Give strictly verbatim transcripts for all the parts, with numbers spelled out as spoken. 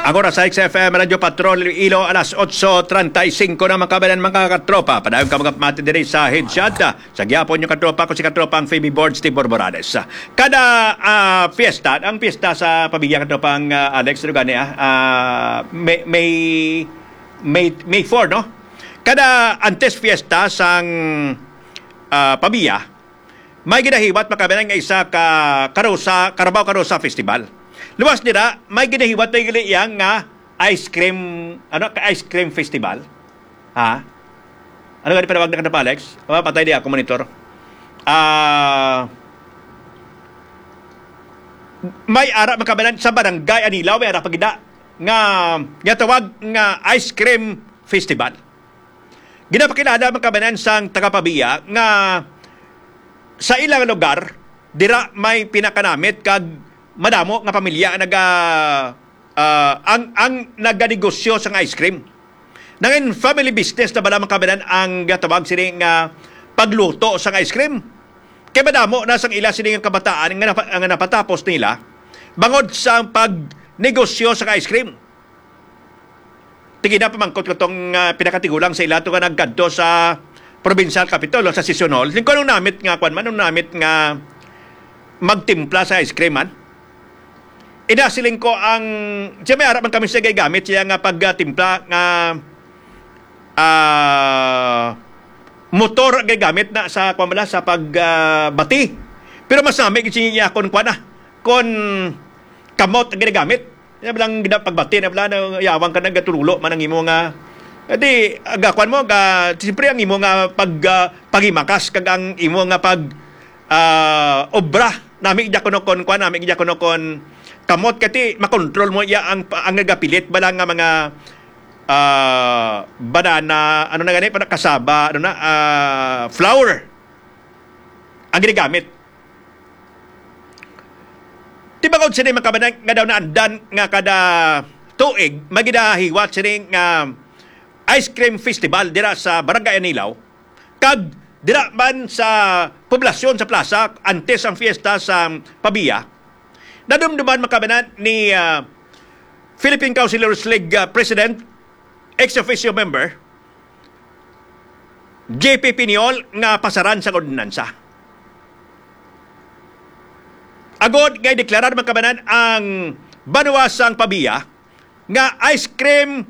Ang oras sa X F M Radyo Patrol Iloilo, alas otso treinta y cinco na, mga kabayan, mga katropa. Padayon ka mga pamati diri sa Headshot. Sa gihapon yung katropa ko, si katropang Phoebe Boards, Tibor Morales. Kada ah, fiesta, ang fiesta sa pamilya, katropang ah, Alex, ano gani, ah, ah, May, May, May, May four, no? Kada antes fiesta sang ah, pamilya, may ginahiwat, mga kabayan, nga isa ka Karusa, Carabao Karusa Festival. Luwas nila, may ginahiwat na gali iya nga ice cream, ano, ka ice cream festival. Ha? Ano gani panawag na kanapa, Alex? Oh, patay di ako monitor. Ah, may ara, mga kabayan, sa barangay Anilao, may ara pa gid na nga ginatawag nga ice cream festival. Ginapakilala, mga kabayan, sang taga Pavia nga sa ilang lugar, dira may pinakanamit kag madamo nga pamilya ang naga, ah, ang, ang naganegosyo sang ice cream. Nangin family business na bala, mga kabayan, ang gatawag sini nga pagluto sang ice cream. Kay madamo na sang ila sini nga kabataan nga, napa, nga napatapos nila bangod sa pagnegosyo sang ice cream. Tigina pamangkot ko tong ah, pinakatigulang sa ila to nga nagkadto sa provincial capitol o sa session hall. Lingko nung namit nga kwan man, nung namit nga magtimpla sa ice cream man. Ina siling ko ang, siya may ara man kami siya gamit siya nga pagtimpla nga ah, motor ang gamit na sa kwan bala, sa pag ah, bati. Pero mas nami gid siya kon kwan na, kon kamot ang ginagamit. Yan lang gina pagbati na bala na yawang ka nagaturulo man ang imo nga. Di, aga kwan mo, ga, siyempre ang imo nga pag ah, pagimakas kag ang imo nga pag ah, obra. Nami gid kuno kon kwan, nami gid kuno kon kamot kati makontrol mo iya ang ang nagapilit bala nga mga ah, banana, ano na gani, para kasaba, ano na, ah, flour ang ginagamit. Tibangod sini, mga kabayan, nga daw naandan nga kada tuig maginahiwat sini nga ice cream festival dira sa Barangay Anilao, kag dira man sa poblasyon sa plaza antes ang fiesta sa Pavia. Nadumduman, mga kabayan, ni ah, Philippine Councilors League ah, President, ex officio member, J P Piñol, nga pasaran sang ordinansa. Agod nga ideklarar, mga kabayan, ang banwa sang Pavia nga ice cream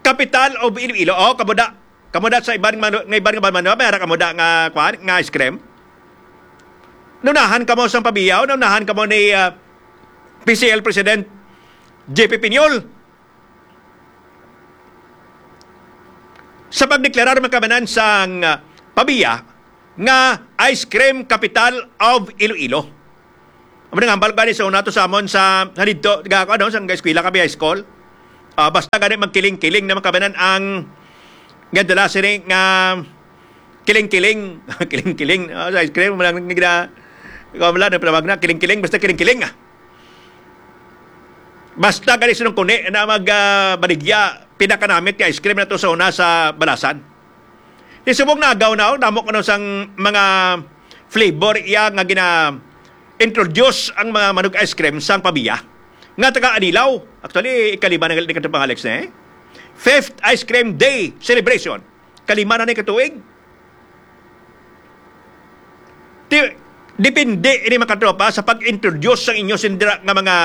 capital of Iloilo. Oh, kamuda. Kamuda sa iban man, nga iban nga banwa, may ara kamuda nga, kwan, nga ice cream. Naunahan kamo sang Pavia, naunahan kamo ni ah, P C L President J P Piñol. Sa pagdeklarar, mga kabayan, sang ah, Pavia nga ice cream capital of Iloilo. Amo nang hambal gani sa una to sa amon sa, sa didto, ga, ano, sa eskwela kami, high school. Ah, basta gani magkiling-kiling na, mga kabayan, ang nga dala sini nga kiling-kiling, kiling-kiling, ah, sa ice cream, wala nang gina-, wala na, panawag na, kiling-kiling, basta kiling-kiling, ah. Basta gani sinong kuni na mag ah, baligya, pinakanamit nga ice cream na to sa una sa Balasan. Di subong na agaw na, oh, damo kuno sang mga flavor iya nga gina-introduce ang mga manug ice cream sang Pavia nga taga Anilao. Actually, ikalima na gali ni katong pang Alex na, eh. Fifth Ice Cream Day Celebration. Kalima na ni katuig. Ti, depende ini, mga katropa, sa pag-introduce sang inyo sindira nga mga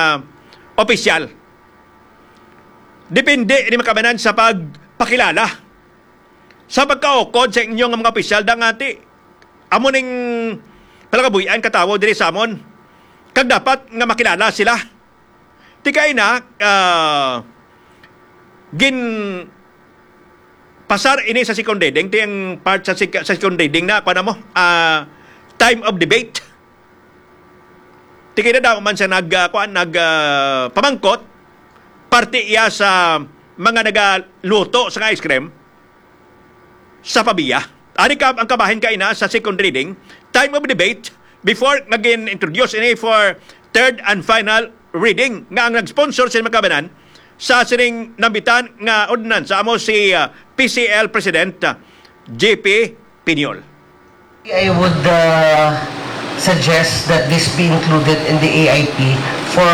opisyal. Depende ini, mga kabayan, sa pagpakilala, sa pagkaukod sa inyo nga mga opisyal, da nga ti amo ning palakabuy-an katawo diri sa amon. Kag dapat nga makilala sila. Ti kay na, ah, gin pasar ini sa second reading, ti ang part sa sec-, sa second reading na, kuwan mo, ah, time of debate. Ti kay na daw man siya nag, ah, kuwan, nag, ah, pamangkot, parte iya sa mga nagaluto sa ice cream sa Pavia. Ari ka ang kabahin kaina sa second reading, time of debate, before nga gin-introduce ini for third and final reading, nga ang nag-sponsor sa makabanan sa sining nambitan nga ordinansa amo si ah, P C L President ah, J P Piñol. I would uh, suggest that this be included in the A I P for,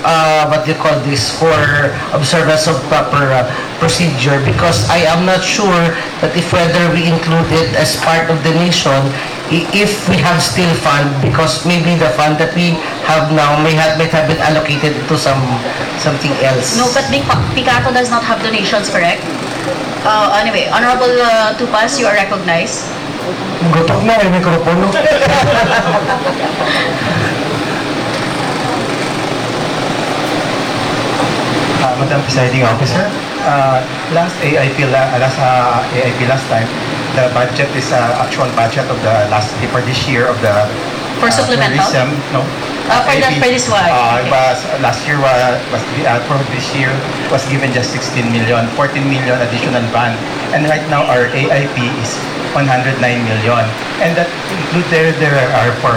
uh, what do you call this, for observance of proper, uh, procedure, because I am not sure that if whether we include it as part of donation, i- if we have still fund, because maybe the fund that we have now may have, might have been allocated to some, something else. No, but the Picato does not have donations, correct? Uh, anyway, Honorable uh, Tupas, you are recognized. Gutok na yung mikropono. Uh, Madam Presiding Officer, uh, last A I P la, last uh, A I P last time, the budget is uh, actual budget of the last for this year of the For uh, supplemental? Tourism, no? Uh, for the- A I P, for this one. Uh, Okay. was last year was, was uh, for this year was given just sixteen million, fourteen million additional fund, and right now our A I P is one hundred nine million, and that include there there are for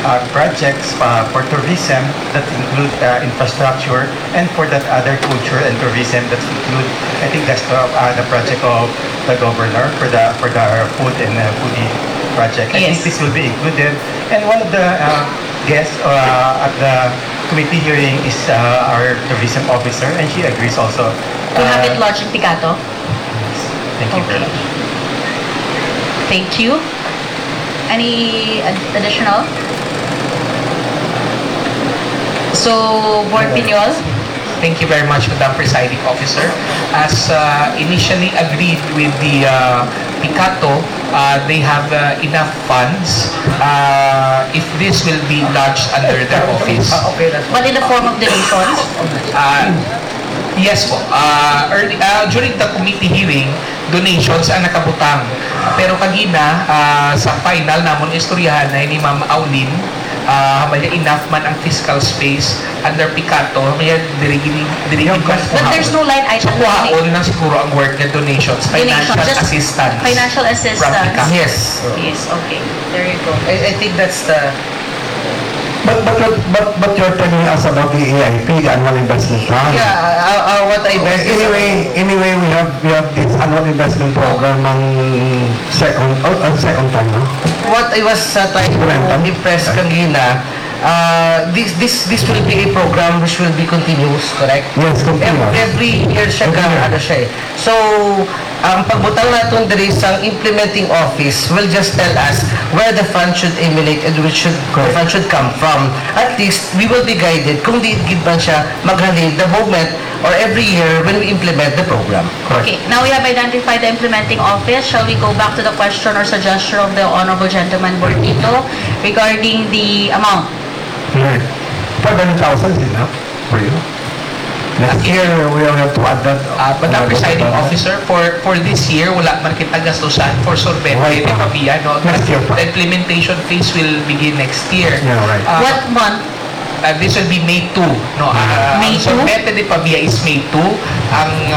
uh, projects uh, for tourism that include uh, infrastructure, and for that other culture and tourism that include, I think that's the, uh, the project of the governor for the for the food and uh, foodie project. I Yes. think this will be included. And one of the uh, guests uh, at the committee hearing is uh, our tourism officer, and she agrees also. To have Uh, it lodged in Picato? Thank you very much. Thank you. Any ad- additional? So, Board Piñol? Thank you very much, Madam Presiding Officer. As uh, initially agreed with the uh, Picato, uh, they have uh, enough funds uh, if this will be lodged under their office. Ah, okay, that's But in the form of donations? Uh, yes po. Uh, early, uh, during the committee hearing, donations ang nakabutang. Pero kagina, uh, sa final namon istoryahan na ni Ma'am Aulin, uh, may enough man ang fiscal space under Picato, may diri gini diri Yung gini man kas- But there's no line item. So, kuhaon lang siguro ang word nga donations, Donation, financial just assistance. Financial assistance. Picato. Yes. Yes, okay. There you go. I, I think that's the But, but, but, but you're telling us about the A I P, the annual investment plan. Yeah, uh, uh, what I meant is, Anyway, anyway, we have we have this annual investment program ng second, oh, uh, second time, no? What I was uh, trying to impress kagina, uh, this this this will be a program which will be continuous, correct? Yes, Every, continuous. every year siya Every ka, year. Ano siya eh. So, ang pagbutang naton diri sa implementing office will just tell us where the fund should emanate and where should the Correct. fund should come from. At least we will be guided kung di gid man siya maghalin the moment or every year when we implement the program. Okay, now we have identified the implementing office. Shall we go back to the question or suggestion of the Honorable Gentleman Bortito regarding the amount? Right. Five hundred thousand is enough for you. Next year, we will have to add that. Uh, Madam another Presiding thousand. Officer, for for this year, wala man kita gastusan for sorbete Right. de Pavia, no? Next year pa. The implementation phase will begin next year. Yeah, right. Uh, What month? Uh, this will be May two, no? Uh, May ang two? sorbete de Pavia is May two. Ang uh,